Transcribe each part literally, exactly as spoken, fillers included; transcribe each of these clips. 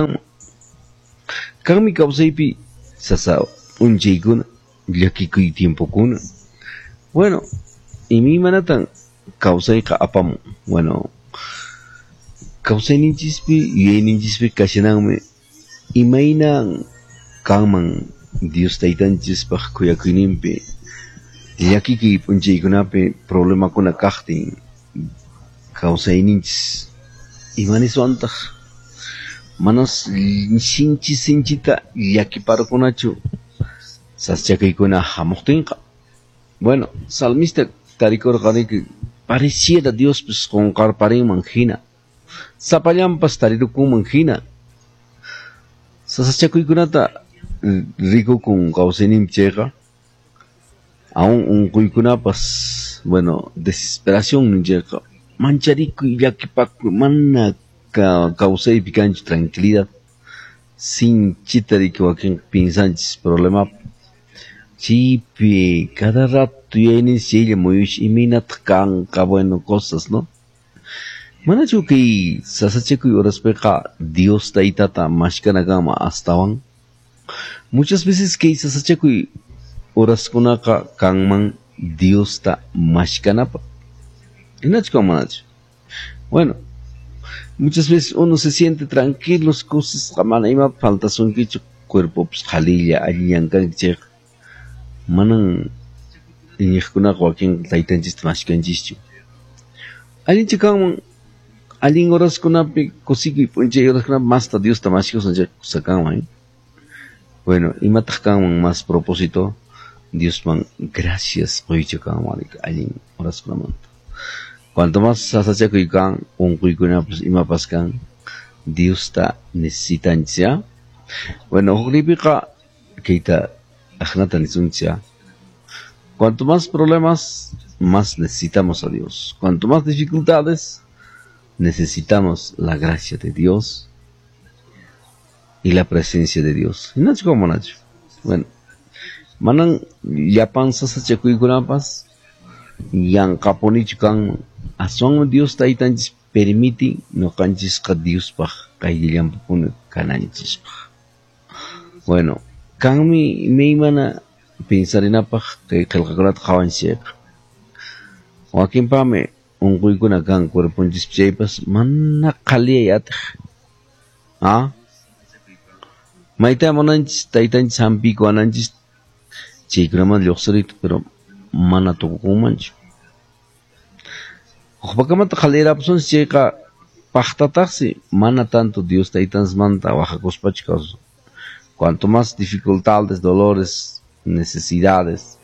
kashanman. Kanmi kawsaypi sasa p'unchaykuna, llakikuy tiempokuna. Bueno, imaymanatan kawsayqa apamun. Bueno, kawsayninchispi yuyayninchispi kashananmi imaynan kanman Dios taytanchispaq khuyakuyninpi llakikuy p'unchaykunapi problemakuna kaqtin kawsayninchis imaniswantaq manas sinchi sinchita llakiparqunachu sasachakuykuna hamuqtinqa. Bueno, salmista tarikurqaniki pareciera Diospis qunqarparinman hina, sapallanpas tarirukunman hina. Sasachakuykunata rikukun kawsayninpi chayqa aún unquykunapas, bueno, desesperación ninchayqa mancharikuy llakipakuy mana kawsaypi kanchu tranquilidad sinchita riki wakin pinsanchis problemapi chaypi cada rato yuyayninchis chaylla muyush imaynataq kanqa, bueno, cosas, ¿no? Manachu kay sasachakuy horaspiqa Dios taytata mashkana kanman astawan? Muchas veces kay sasachakuy horaskunaqa kanman Diosta mashkanapaq. Hinachu kanman manachu? Bueno, muchas veces uno se siente tranquilo, cosas mana ima faltasunkichu, cuerpopas qhalilla allillan kanki chayqa manan iñiqkunaqa wakin taytanchista mashkanchischu. Allinchu kanman allin horaskunapi kusikuy p'unchay horaskunapi masta Diosta mashkasun chayqa kusa kanman, eh? Bueno, imataq kanman más propósito Diosman gracias quychu kanman allin horaskunamanta. Cuanto más sasachakuy kan, unquykunapas imapas kan, Diosta necesitanchis, ¿ya? Bueno, huknipiqa kayta aqnata nisunchis, ¿ya? Cuanto más problemas, más necesitamos a Dios. Cuanto más dificultades, necesitamos la gracia de Dios y la presencia de Dios. Hinachu kanman manachu? Bueno, manan llapan sasachakuykunapas yanqapunichu kanman. Aswanmi Dios taytanchis permite ñuqanchisqa Diospaq qayllallanpipuni kananchispaq. Bueno, kanmi imaymana pinsarinapaq kay qillqakunata qhawanchis chayqa. Wakinpaqmi unquykuna kan cuerponchispi chaypas mana qhaliyay atiq. ¿Ah? Mayta munanchis taytanchis hampiykuwananchis chaykunaman lluqsiriyta, pero mana tukukunmanchu. Hukpakamata qhaliyarapusunchis chayqa paqtataqsi mana tanto Dios taytanchismanta waqakuspachu kawsasun. Cuanto más dificultades, dolores, necesidades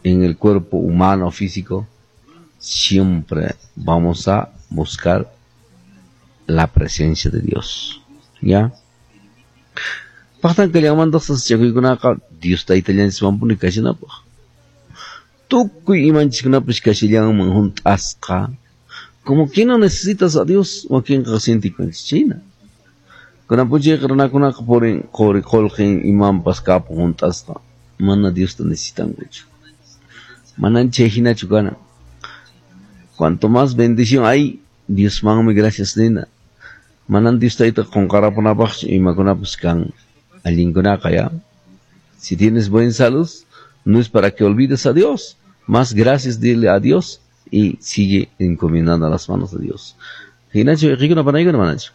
en el cuerpo humano físico, siempre vamos a buscar la presencia de Dios. ¿Ya? Paqtan kallanmantaq sasachakuykunaqa Dios taytallanchiswanpuni kashanapaq. Tukuy imanchiskunapas kashallanman hunt'asqa. Como que no necesitas a Dios, wakinqa sientikunchis chayna. Kunan p'unchayqa runakunaqa purin quri qullqin imanpas kapun hunt'asqa. Mana Diosta necesitankuchu. Manan chay hinachu kana. Cuanto más bendición hay, Diosmanmi gracias nina. Manan Dios tayta qunqarapunapaqchu imakunapas kan allinkunaqa, ¿ya? Si tienes buena salud, no es para que olvides a Dios. Más gracias dile a Dios y sigue encomendando a las manos de Dios. Hinachu wayqikuna panaykuna manachu?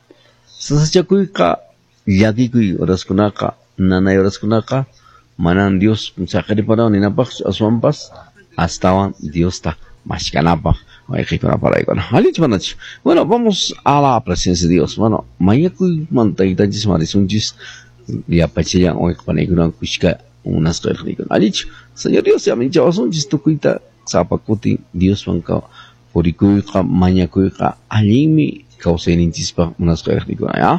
Sasachakuyqa llakikuy horaskunaqa nanay horaskunaqa manan Dios saqiriparawan ninapaqchu aswanpas astawan Diosta mashkanapaq wayqikuna panaykuna. Allinchu manachu? Bueno, vamos a la presencia de Dios. Bueno, mañakuymanta taytanchis marisunchis llapachallan wayqi panaykuna kushka unasqa irqnikuna. Allinchu? Señor Dios yaminchawasunchis tukuyta sapa kutin Dioswan purikuyqa mañakuyqa allinmi kawsayninchispaq munasqa irqnikuna, ¿ya?